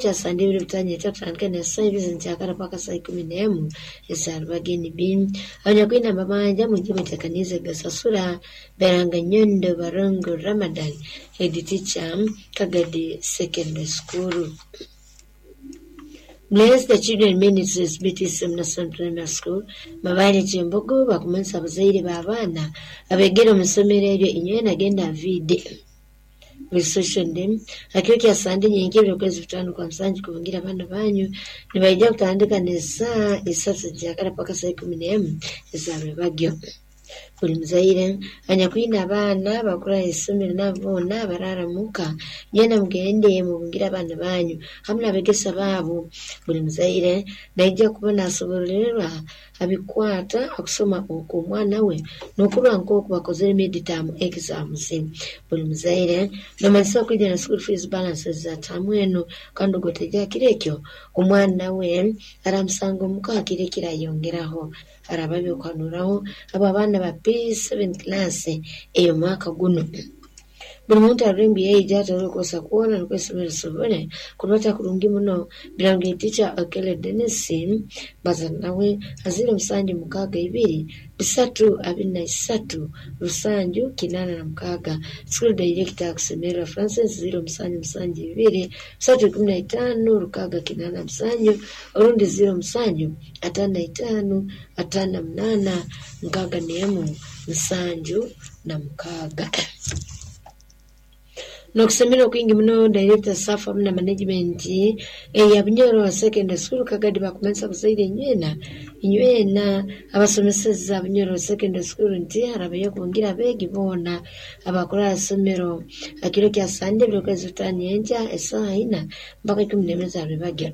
Kya Sande ebiro 5 kutandika n'esaaha 2 z'enkyakara paka saaha 11 ez'arubaga. NB abanyakwine amabanja mwije mwetekaniize kugasasura. Beranga Nyondo Barongo Ramadan, head teacher, Kagadi Secondary School. Bless the Children Ministries, BTSM National Primary School, Mabale Kyembogo, bakumanyisa abazaire b'abaana abegere omu isomero eryo inywena nagenda vide buli hakiro kya Sande nyenkya ebiro kwezi 5 kwa 7 kubungira abaana banyu nibaija kutandika n'esaaha 3 nkyakara paka saaha 11 ez'arwebagyo. Buli muzaire anyakwine abaana bakura ha isomero nabo boona baraara muka, nywena mugende mubungire abaana banyu hamu n'abegesa baabo. Buli muzaire naija kuba naasobororerwa ha bikwata ha kusoma okw'omwana we n'okurora nk'oku bakozere mid-term exams. Buli muzaire noomanyisibwa kwija na school fees balances za taamu enu, kandi ogu otaija ha kiro ekyo, omwana we araamusanga omuka ha kiro ekirayongeraho. Haraaba ebyokuhanuraho habw'abaana ba P7 class ey'omwaka gunu. Buli muntu arole ngu yaija atarole kukosa kwona nukwo isomero lisobole kurubata kurungi muno. Birango teacher Okello Denis baza nawe ha 0762 323 786. School director Kusemererwa Francis, 0772 315 687 orundi 0755 58 61 76. N'okusemererwa kwingi muno, director, staff hamu na management eya Bunyoro Secondary School Kagadi bakumanyisa abazaire inywena inywena abasomeseza Bunyoro Secondary School nti harabayo kubungira abeegi boona abakura ha isomero ha kiro kya Sande ebiro kwezi 5 nyenkya esaaha 4 mpaka 11 z'arwebagyo.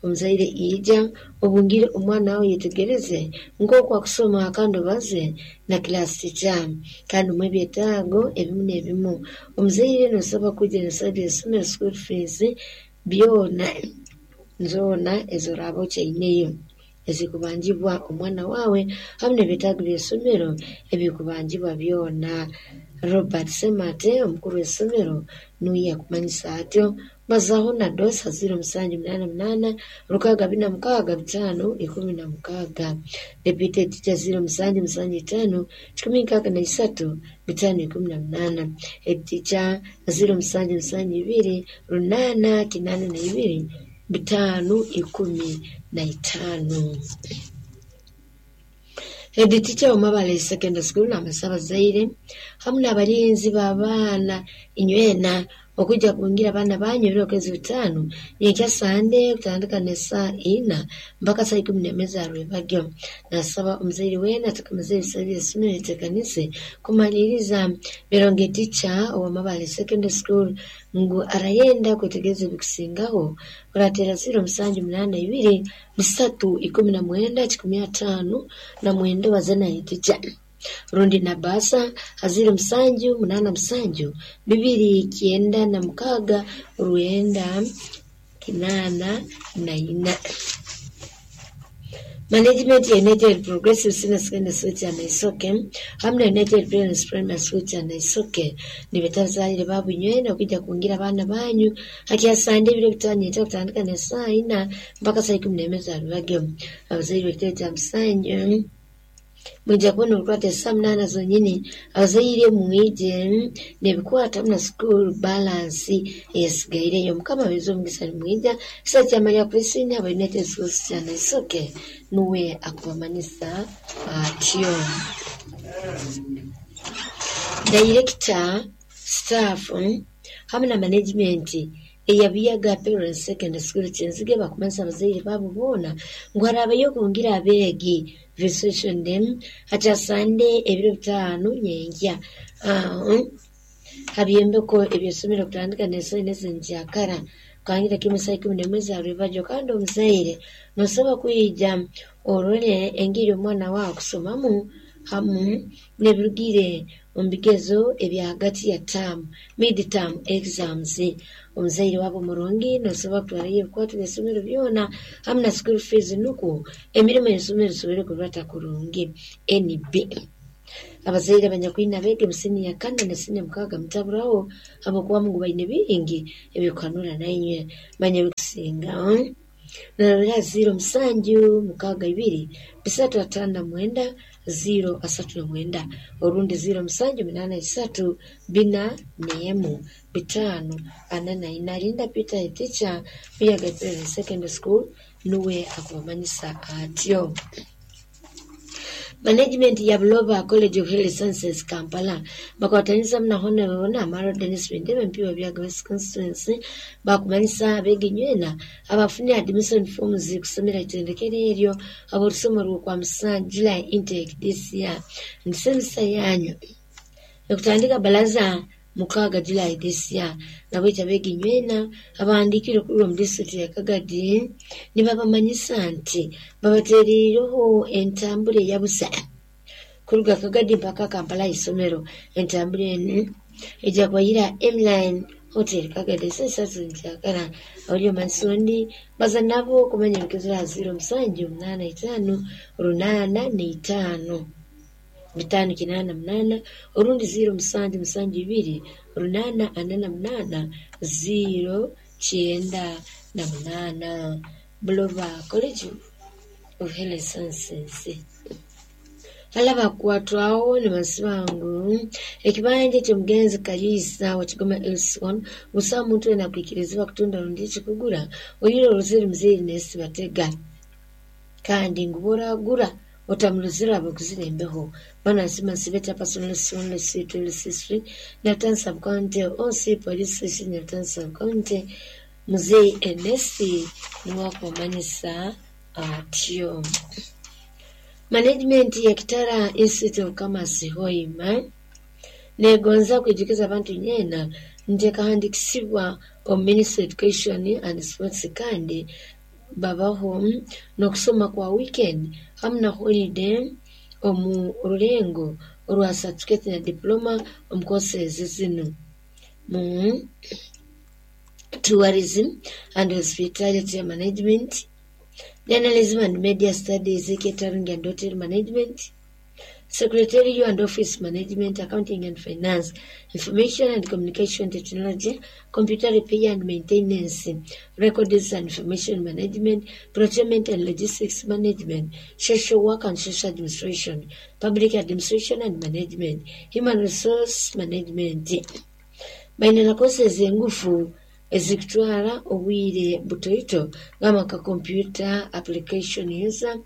Omuzaire ija obungire omwana wawe, yetegereze nk'oku akusoma kandi obaze na class teacher kandi omuhe ebyetaago ebimu n'ebimu. Omuzaire noosabwa kwija n'ebisale by'isomero, school fees byona zoona ezi oraaba okyaineyo ezikubanjibwa omwana waawe hamu n'ebyetaago by'isomero ebikubanjibwa byona. Robert Ssemate, omukuru w'isomero, nuwe akumanyisa atyo. Bazaaho na Dosa, 0788 646 516. Deputy teacher, 0775 163 518. Head teacher, 0772 882 515. Head teacher wa Mabale Secondary School naamanyisa abazaire hamu n'abalinzi b'abaana inywena okwija kubungira abaana banyu ebiro kwezi 5 nyenkya Sande kutandika n'esaaha 4 mpaka saaha 11 z'arwebagyo. Nasaba omuzaire weena atakamazire ebisale by'isomero yetekanize kumaliiriza. Bironge teacher owa Mabale Secondary School ngu arayenda kwetegereza ebikusingaho, orateera 0782 319 159 baze na head teacher rundi na basa ha 0787 296 984. Management ya United Progressive Senior Secondary School kya Naisoke hamu na United Parents Primary School kya Naisoke nibeta abazaire baabo inywena okwija kubungira abaana banyu ha kya Sande ebiro 5 nyenkya kutandika n'esaaha 4 mpaka saaha 11 z'arwebagyo. Abazaire b'ekitebe kya Musanju mwija kubona orukwata esaaha 8 zonyini. Abazaire mwije n'ebikwata hamu na school balance eyasigaireyo. Mukama abaheereze omugisa nimwija. Kisa kya Maria Christine aba United Schools kya Naisoke nuwe akubamanyisa atyo. Director, staff hamu na management eya Buyaga Parents Secondary School Kyenzige bakumanyisa abazaire baabo boona ngu haraabayo kubungira abeegi visitation ha kya Sande ebiro 5 nyenkya ha byombeko eby'isomero kutandika n'esaaha 4 z'enkyakara kuhangira kimu saaha 11 z'arwebagyo. Kandi omuzaire noosabwa kwija orole engeri omwana waawe akusomamu hamu n'ebirugire omu bigezo ebya hagati ya taamu, mid-term exams. Omuzaire waaba murungi noosobora kutwarayo ebikwato by'isomero byona hamu na school fees nukwo emirimo y'isomero esobole kurubata kurungi. NB. Abazaire abanyakwine abeegi mu siniya kana na siniya mukaaga mutaburaho habwokuba ngu baine bingi ebyokuhanura nainywe. Manya ebikusinga norora 0762 359 039 orundi 0783 41 544. Linda Peter a teacher Buyaga Primary Secondary School nuwe akubamanyisa atyo. Management ya Buloba College of Health Sciences Kampala bakwataniza na Honorable Namaro Dennis Bindebe MP wa Byaga West Constituency bakumanyisa abeegi nywena abafunire admission forms kusomera itendekero eryo ab'orusomo rw'okwa musanju July intake this year nti semester yanyu ekutandika balaza 6 July this year. Nabwekyo abeegi nywena abahandiikire okuruga omu disitulikiti ya Kagadi nibabamanyisa nti babateereireho entambura eyabusa kuruga Kagadi mpaka Kampala ahaisomero. Entambura enu ejja kubayira M-Line Hotel Kagadi esaaha isatu nkyakara. Ori omanyisa ondi baza nabo okumanya ebikuzire aha 0785 805 588 orundi 0772 848 098. Buloba College of Health Sciences. Hali abakukwatwaho nibasiba ngu ekibanja eky'omugenzi Kaliisa wa Kigoma LC1 busaho muntu weena akwikirizibwa kutunda rundi kukigura oihireho orozere muzeeyi Ernest Batega kandi ngu bw'oragura otamurozere habw'okuzira embeho. Bwana Nsima Nsibeta Personal LC1 LC2 LC3 Nyarutarama Sub County OC Police Station Nyarutarama Sub County Muzeeyi Ernest niwe akubamanyisa atyo. Management ya Kitara Institute of Commerce Hoima negonza kwijukiza abantu nyeena nti ekahandikisibwa omu Ministry of Education and Sports kandi babaho n'okusoma kwa weekend hamu na holiday omu rulengo orwa certificate na diploma omu courses zinu mu tourism and hospitality management, journalism and media studies, catering and hotel management, secretarial and office management, accounting and finance, information and communication technology, computer repair and maintenance, records and information management, procurement and logistics management, social work and social administration, public administration and management, human resource management. Baine na courses engufu ezikutwara obwire butoito gamba nka computer application user,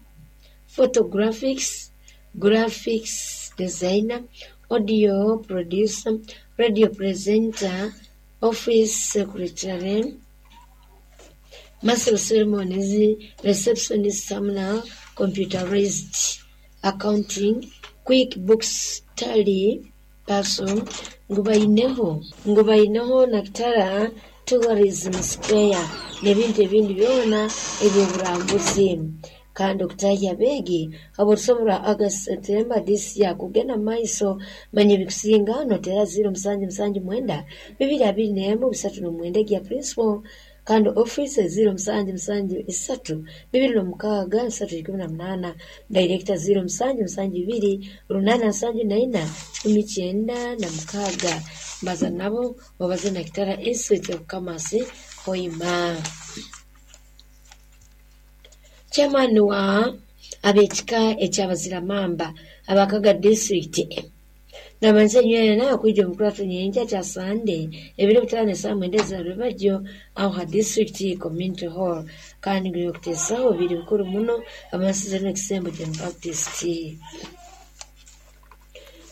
photographics, graphics designer, audio producer, radio presenter, office secretary, master of ceremonies, receptionist hamu na computerized accounting, quick books tally person ngu baineho na Kitara Tourism Square n'ebintu ebindi byona eby'oburambuzi. Kandi okutahya abeegi habw'orusomo rwa August September this year kugenda mu maiso. Manya ebikusinga noteera 0779 221 39 egya principal kandi office 0773 26 318 director 0772 874 96. Mbaza nabo babaze na Kitara Institute of Commerce Hoima. Chairman wa ab'ekika eky'abaziramamba abakaga disitulikiti namanyiza nywena nakwija omu kurato nyenkya kya Sande ebiro 5 esaaha 9 ezarubajyo aho ha disitulikiti community hall kandi ngu ebyokuteesaho biri bikuru muno amansize n'ekisembo John Baptist.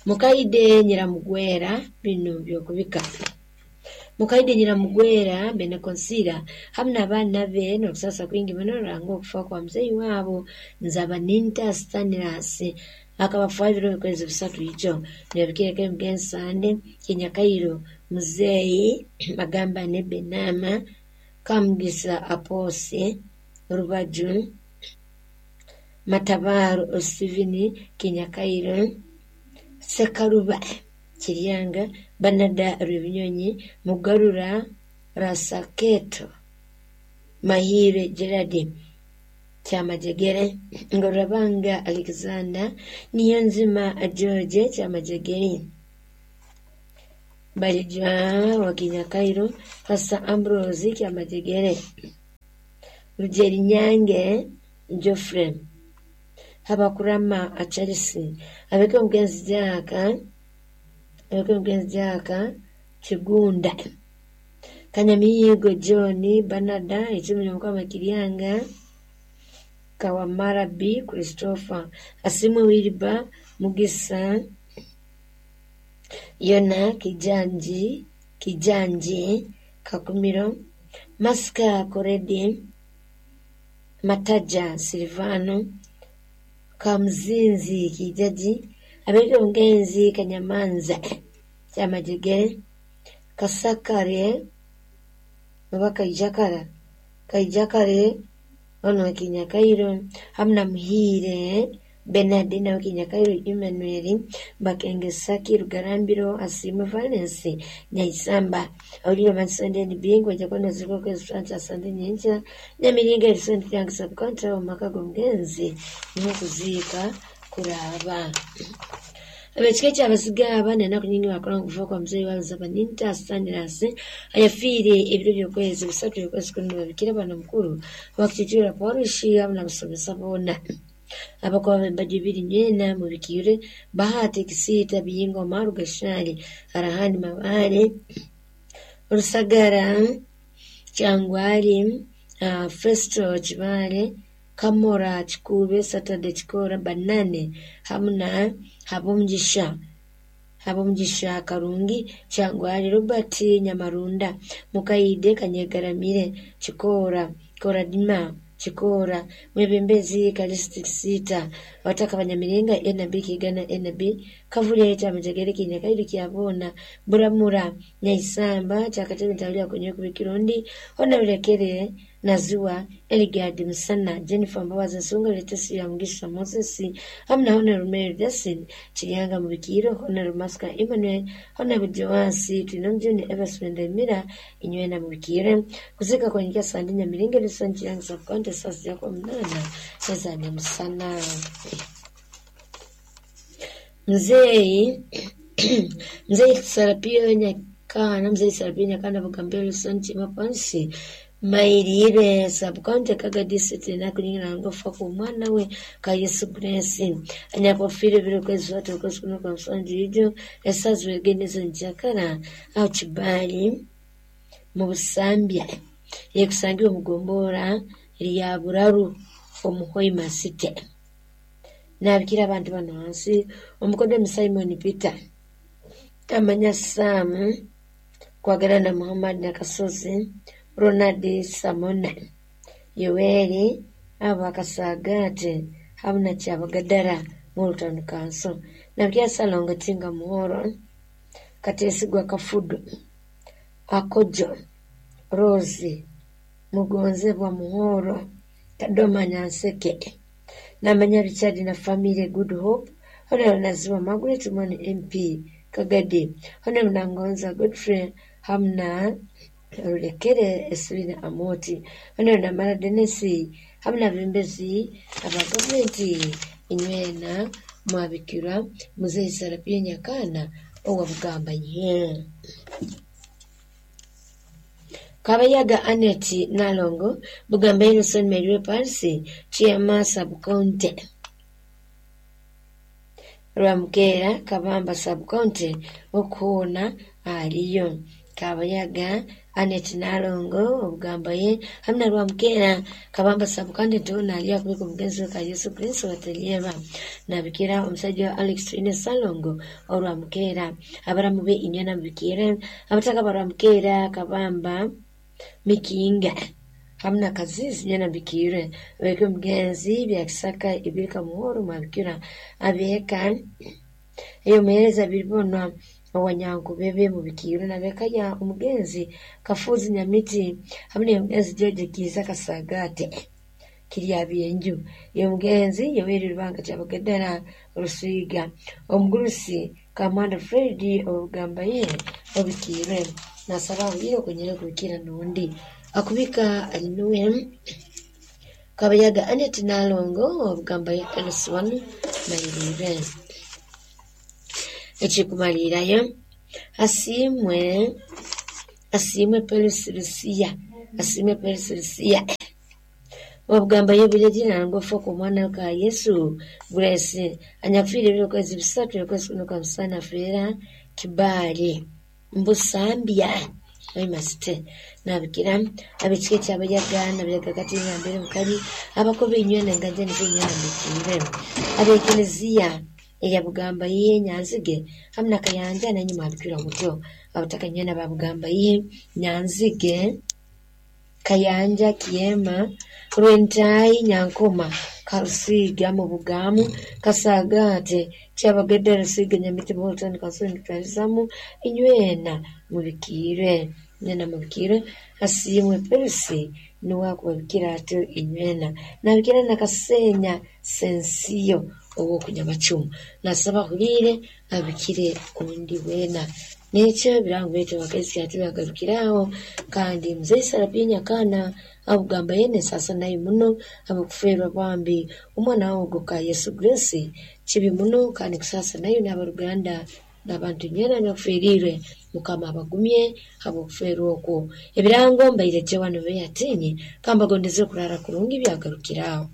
Mukaide Nyiramugwera binu byokubika. Mukaide Nyiramugwera Benekonsira hamu n'abaana be n'okusasa kwingi muno ruranga okufa kwa muzeeyi waabo Nzabaninta Stanilas akabafa ebiro bikwezi 3 ijo nibabikireko emugenzi Sande Kinyakairo muzeeyi Magambane Benama Kamugisa Aposi Rubaju Matabaro Stephen Kinyakairo Sekaruba Kiryanga Banada Rwebinyonyi Mugarura Rasaketo Mahire Gerard Kyamajegere, Ngorabanga Alexander, Niyonzima George Kyamajegere, Balijwa wa Kinyakairo, Pastor Ambrose Kyamajegere, Rugerinyange Geoffrey, Habakurama Charles, abeke omugenzi Jaka, abeke omugenzi Jaka Kigunda, Kanyamiyigo John Banada, Ekimuli Mukama Kiryanga, Kawamara B Christopher, Asimwe Wilba Mugisa, Yona Kijanji, Kijanji Kakumiro, Masika Koredi, Mataja Silvano, Kamuzinzi Kijaji, abeke omugenzi Kanyamanza Kyamajegere, Kasakare oba Kaijakara, Kaijakare ono wa Kinyakairo, hamna Muhiire Bernard nawe Kinyakairo Emmanuel, Bakengesaki Rugarambiro, Asiimwe Valence Nyaisamba, awulire Mansonde Bingwa Jakono Zikoko Francis Sande Nyenja Nyamiringa Erisoni Kiranga Subcounty omu maka g'omugenzi n'okuziika kuraba. Abekika ky'Abasiga aba n'enaku nyingi bakola okufa kwa muzeeyi wa Baninta Stanislas ayafiire ebiro by'okwezi bisatu by'okwezi kumi babikira bano mukuru wakitiitira parish hamu n'abasomesa boona. Abakuba b'embaju ibiri nywena mubikiire Bahati Kisiita Biyinga Omaru Gashali Arahani Mabare Rusagara Kyangwali Festo Kibale Kamora Kikuube Saturday Kikora Banane hamu na Habomugisha Habomugisha Karungi Kyangwali Robert Nyamarunda Mukaide Kanyegaramire Kikora Koradima Kikora Mwebembezi Kalisiti Sita abataka Banyamiringa NB Kigana NB Kavule Kyamajegere Kinyakairi Kyabona Buramura Nyaisamba Kyakatebe Ntawulya Kwenye Kubikirundi Honorable Naziwa Eligad Musana Jennifer Mbabazi Nsunga Letesi ya Mugisha Moses hamu na Honorable Mary Justin Kiryanga Mubikiro Honorable Masika Emmanuel Honorable Joansi Twinomujuni Everson Ndemira inywena Mubikire kuzika kwenye Sandi Nyamiringa Wilson Kiryanga Subcounty sasa kwa mnana Ezani Musana. Mzee Mzee Sarapio Nyakana Mzee Sarapio Nyakana Bugambelo Wilson Chimapansi Mairire Subcounty Kaga District nakunyingira ngofa ku mwana we ka Yesu Grace anyakofire biro kwezi watu kwezi kuno kwa msanji ijo esazwe genezo njakara au kibali mu Busambya yekusangiwe mugombora lya Buraru omuhoima City nabikira abantu bano hansi omukodde Simon Peter Tamanya Sam kwagala na Muhammad Nakasozi Ronald Samona Yoweri abakasagate hamu na Kyabagadara Multon Council nabikira Salongo Tinga Muhoro Katesigwa Kafudu Akojo Rose Mugonzebwa Muhoro Kadoma Nyanseke Namanya Richard na family Good Hope Honorable Naziwa Margaret Mwani MP Kagadi Honorable Nangonza Godfrey hamna Rulekere Eswina Amoti Honorable Namara Denesi hamna bembezi aba gavumenti inywena mwabikira Muzeyi Sarapia Nyakana owa Bugamba nye Kabayaga Anet Nalongo Bugamba Innocent Mary Parsi Chiama Subcounty Rwamukera Kabamba Subcounty okuona aliyo Kabayaga Anet Nalongo obugamba ye hamna Rwamukera Kabamba Subcounty tona aliyo kubika omugenzi ka Yesu Kristo watelieba nabikira omusajja wa Alex Twine Salongo Orwamukera abaramu be inyana mubikira abataka barwamukera Kabamba Mikinga hamna Kazizi nyana bikire abeke omugenzi bya Kisaka ibirika Muhoro mwabikira abeka eyo muhereza biribonwa owanyankubebe mubikiro nabeka ya omugenzi Kafuzi Nyamiti hamwe omugenzi George Kiza Kasagate kirya byenju omugenzi Yoweri Rubanga Kyabagadara Rusiga omugurusi Kamanda Fred obugamba ye obikire nasaba abire kunyere kubikira nundi akubika alinuwe Kabayaga Annet Nalongo obugamba ya LC1 Mayirire. Ekikumaliirayo asiimwe asiimwe Perusi Lusiya asiimwe Perusi Lusiya obugamba yebulegire nangofa omwana ka Yesu Grace anyakufiire ebiro kwezi 3 okwezi kuno kwa musana afeera Kibaale Mbusambya oimasite nabikira abekika ekyabayaga nabayaga kati ngambere mukali abakoba enywena engaja nibyo enywena mbikiire abekereziya eya Bugamba iye Nyanzige hamu na Kayanja nanyuma mwabikirwa mutyo abataka nywena ba Bugamba iye Nyanzige Kayanja Kiema Rwentayi Nyankoma Karusiga mu Bugamu Kasagate Kyabagedde Rusiga Nyamiti Bolton Kasoni Twalizamu inywena mubikiire inywena mubikiire asiimwe Perusi nuwe akubabikira atyo inywena nabikira na Kasenya Sensiyo ow'okunyamacumu nasaba ahuliire abikire ondi weena nekyo ebirango byaitu abakazi kyatubagarukiraho kandi muzei Sarapia Nyakana abugamba yene sasa nayo muno habw'okufeerwa bambi omwana wogo ka Yesu Grace kibi muno kandi kusasa nayo n'abaruganda n'abantu nywena abakuferiirwe Mukama abagumye habw'okufeerwa okwo. Ebirango mbaire wano beyatinye kambagondeze okurara kurungi byagarukiraho.